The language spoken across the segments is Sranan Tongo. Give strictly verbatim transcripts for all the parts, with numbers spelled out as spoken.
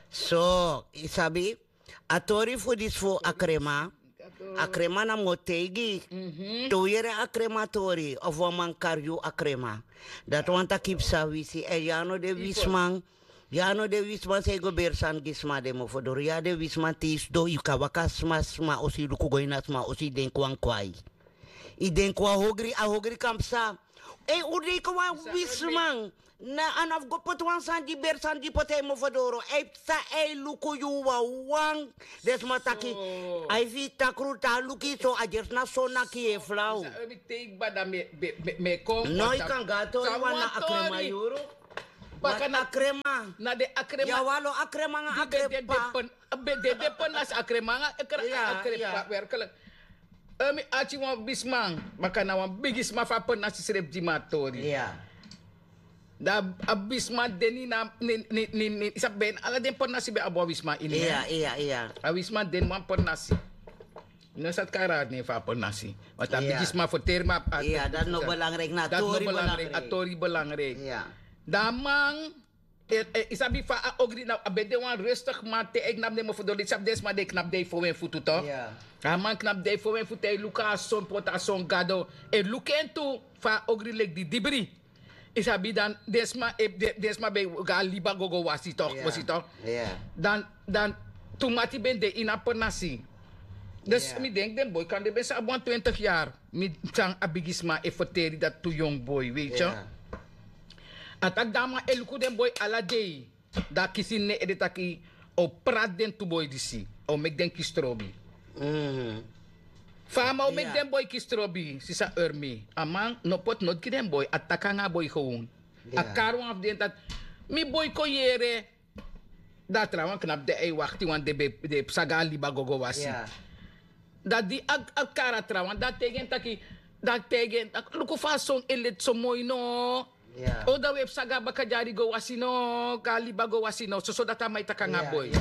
So yu sabi, a tori fu disi fu a krema. A krema na mi o taigi. Te un yere a krema tori of wan man kari yu a krema, dati wani taki yu psa wisi èn yu a no de wisiman. Yu a no de wisiman san e go beri sani gi sma den mofo doro. Yu a de wisiman te yu sidon yu kan waka sma sma osi yu luku go ini a sma osi yu denki wan kwai. Yu denki wan hogri a hogri kan psa. Ei un denki wan wisiman. Na a na fu go poti wan sani di beri sani di poti a yu mofo doro a yu psa a yu luku yu wawan. Den sma taki a yu fi yu takru te a luku yu so a gersi na so naki yu e flaw. Mi teigi bada mi e kon no yu kan go a tori wan na a krema yuru. Baka na a krema na den a krema. Yawalo a krema nanga a krema. Den de pernasi a krema nanga a krema werkelijk. Mi ati wan bisman baka na wan bigisma fu a pernasi srefi di mi a tori. Dan a bisma de ni na yu sabi ben ala den pernasi ben abi wan wisma ini. A wisma de ni wan pernasi. Mi no sa taki a rari nen fu a pernasi. Want a bigisma ferteri mi a dati no belangrijk na a tori belangrijk. Dan a man yu sabi fa a ogri na a ben de wan rustig man te a yu knapu den mofo doro yu sabi den sma di e knapu den e fo en futu to. A man knapu den e fo en futu a e luku a son poti a son gado e luku en tu. Fa a ogri leki di dibri. Yu sabi dan den sma ben go a liba go go wasi tok fosi tok. Dan tu mati ben de ini a pernasi. Dus mi denki den boi kan den ben sa abi wan twintig yari. Mi san a bigisma e ferteri dati tu yongu boi weiti. A taki dan a man e luku den boi ala dei. Dan a kisi ini en ede taki a o prati den tu boi disi a o meki den kisi trobi. Fa a man o meki den boi kisi trobi sisa ermi a man no poti noti gi den boi a taki nanga a boi gewon. A kari wan fu den taki mi boi kon yere. Dan a trawan knapu de a e wakti wan den psa go a liba go go wasi. Dan di a kari a trawan dan a taigi en taki dan a taigi en taki luku fa a son e leti so moi no. O dan wi e psa go a baka dyari go wasi no go a liba go wasi no soso dati a man e taki nanga a boi.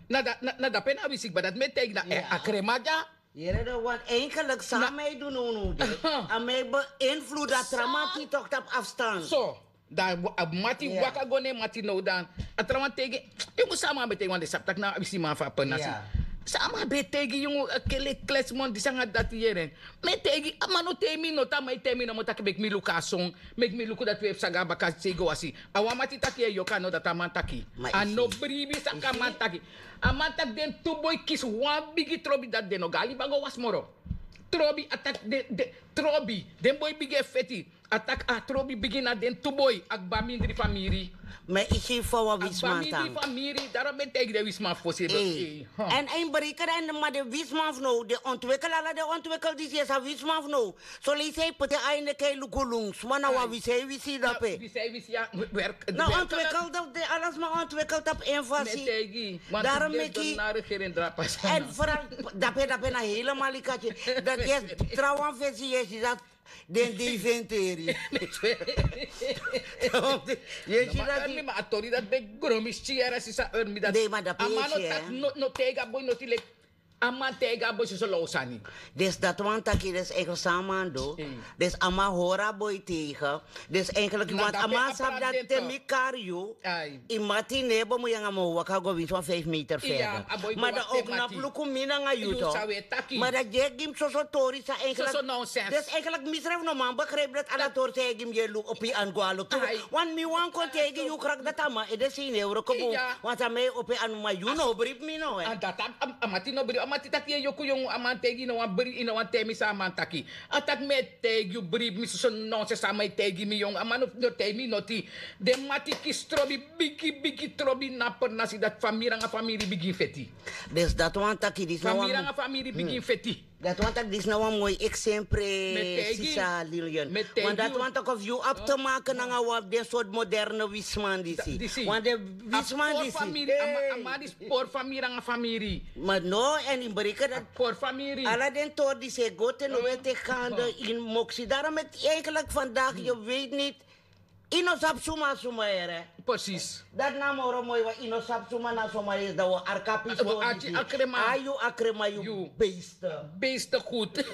Na dape na a wisi kba dati mi e taigi na a krema dya. Yere dan wan enkelik san a man e du nownow de a man e beinvludu a tra man di tok tapu afstand. So dan a mati waka go na en mati now dan a trawan taigi en. Yu mus san a man ben taigi wan den sabi tak' na a wisiman fu a pernasi. San a man ben taigi yu mus kele klesmon disi nanga dati yere en. Mi e taigi a man no taigi mi noti a man e taigi mi nomo tak' meki mi luku a son. Meki mi luku dati wi e psa go a baka sei go wasi. A wan mati taki yu e yoka no dati a man taki. A no bribi saka a man taki. A man taki den tu boi kisi wan bigi trobi dati den no go a liba go wasi moro. Trobi a taki den trobi den boi bigi e feti. A taki a trobi bigi na den tu boi a kba mindri famiri. Ma yu si fa wan wisman tan. Famiri daro ben taigi den wisman fosi. Èn a yu breke dan ma den wisman fu now den ontwekel ala den ontwekel disi yu e sabi wisman fu now. Solesi a yu poti en a yu neki a yu luku lun sma na wan wisi a yu wisi dape. Na ontwekel dapu den ala sma ontwekel tapu en fasi. Daro meki. Èn feral dape dape na helemal yu kati. Dati yu e trawan fesi yu e si dati. Den de yu fenteri. Yu e si dati. Ma a tori dati ben gromi sti yara sisa ermi dati. A man no taki no taigi a boi noti leki. A man taigi a boi soso law sani. Dus dati wani taki dus enkel san a man du. Dus a man hori a boi tegen. Dus enkel yu wani a man sabi dati te mi kari yu. Yu mati no e bo mu yanga mu o waka go winsi wan fif meter ferder. Ma dan o knapu luku mi nanga yu to. Ma dan gi e gi mi soso tori san enkel. Dus enkel mi srefi no man begripi dati ala tori san e gi mi yu e luku opo yu anu go alo tu. Wan mi wan kon taigi yu kraki dati a man ede si yu no e wroko bun. Wan san mi e opo yu anu ma yu no bribi mi no. A mati no bribi a mati taki yu e yoku yongu a man taigi yu no wan bribi yu no wan taigi mi san a man taki. A taki mi e taigi yu bribi mi soso nonsense a man e taigi mi yongu a man no taigi mi noti. Den mati kisi trobi bigi bigi trobi na pernasi dati famiri nanga famiri bigin feti. Dus dati wani taki disi na wan famiri nanga famiri bigin feti. Dati wani taki disi na wan moi eksempre. Sisa lilian. Wan dati wani taki of yu abi te make nanga wan den sortu moderne wisman disi. Wan den wisman disi. A man disi pori famiri nanga famiri. Ma no èn yu breke dati pori famiri ala den tori disi e go te no wi e teki hande ini moksi daro meki enkeliki fandagi yu weiti niti. Yu no sabi suma suma yere. Presis. Dati na moro moi wan yu no sabi suma na suma yesi dan wi o arki a pisi tori disi. A yu a krema yu. Beiste. Beiste gud.